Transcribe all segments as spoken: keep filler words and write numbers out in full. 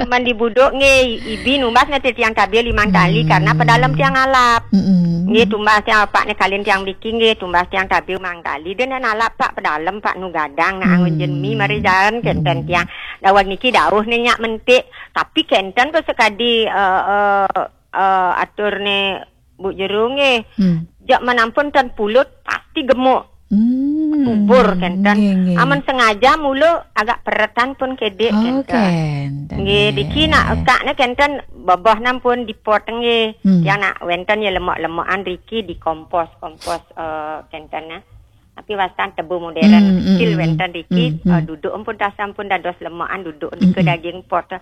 Man di buduk nggih, ibi numbas neh tiang tabil limang tali karena pedalem tiang alap. Mm-mm. Nggih, tumbas tiang apak neh kalin tiang mriki nggih, tumbas tiang tabil limang tali. Dene alap pak pedalem pak nu gadang nak angun jen mi mari jalan kenten tiang. Daweg niki dauh neh nyak mentik. Tapi kenten ko sekadi eh, eh, eh, atur neh Bu Jero nggih. Hmm. Jak man ampun ten pulut pasti gemuk. Hmm. Subur kenten. Nggih, nggih. Amun sengaja mulu agak peretan pun kedik Oh, kenten. Kenten. Nggih, diki nak ekak ne kenten bebah nan pun dipot nggih. Hmm. Yang nak wenten ya lemak-lemakan riki dikompos, kompos eh, kenten nah. Tapi wastan tebu modern Hmm, kecil hmm, wenten hmm. Riki Hmm, hmm. Eh, duduk ampun tasam pun dados lemakan duduk nika Hmm. daging pot. Eh,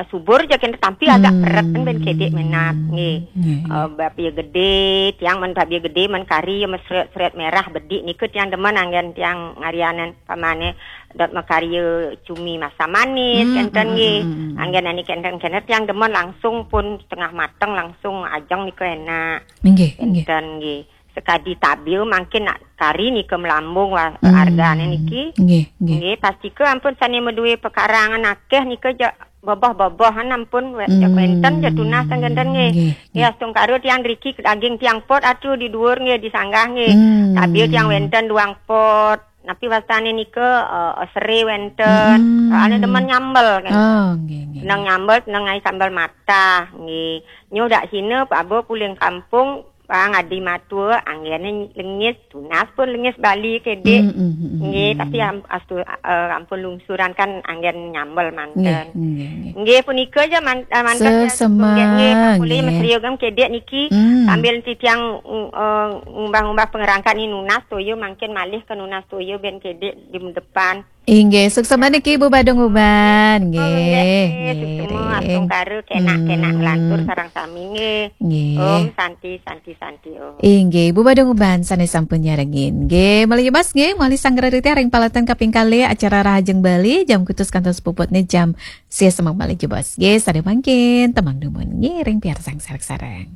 subur je kenten tapi agak Hmm. peret kan ben kedik menat nggih. Nggih, nggih. Eh, bab ya gede, tiang men bab ya gede men kari ya mesret-sret merah bedik nika tiang demen anggen tiang ngarianan pamane dot makarya cumi masam manis Hmm, kenten hmm, nggih. hmm, hmm, hmm. Anggen ani kenten kenten tiang demen langsung pun setengah mateng langsung ajeng nika enak. Nggih, nggih. Kenten nggih. Sekadi tabil mangkin nak kari nika melambung wa- Hmm. Argane niki. Nggih, nggih. Nggih, pastika ampun sane medue pekarangan akeh nika ja bebah-bebahan ampun we- ja Hmm. wenten ja tunas kenten nggih. Nggih, Ya astungkara tiang riki daging tiang pot atu di dhuwur nggih di sanggah nggih. Hmm. Tabil tiang wenten duang pot. Napi wastane nika eh, sere wenten. Hmm. Soalnya demen nyambel kan. Oh, nggih, nggih. Seneng nyambel, seneng ngai sambal matah nggih. Nyoh dak sine pabo puling kampung bang adi matua anggene lengis tunas pun lengis Bali kedik. Hmm, hmm, hmm, hmm. Nggih, tapi am, astu, eh, ampun lungsuran kan anggen nyambel Nggih, manten. nggih, nggih. Nggih, punika aja man, eh, manten ya, Sesemang, nggih, nggih, Pak Kuli nggih. mesri ogam kedik niki. Hmm. Sambil titiang mm, eh, ngumbah-ngumbah pengerangkat ni nunas toyo mangkin malih ke nunas toyo ben kedik di depan. Inggih, suksma niki Ibu Badung Uban. Oh, Nggih, nggih, nggih. Suksma astungkara kenak-kenak Hmm. nglantur sareng sami nggih. Nggih. Om Santi, Santi, Santi Om. Inggih, Ibu Badung Uban sane sampun nyarengin. Nggih, malih mas nggih, malih sanggra titi ring palaten kaping kalih acara Rahajeng Bali jam kutus kantos puputne jam sia semeng malih jebos. Nggih, sane mangkin temang dumun nggih ring piarsang sareng-sareng.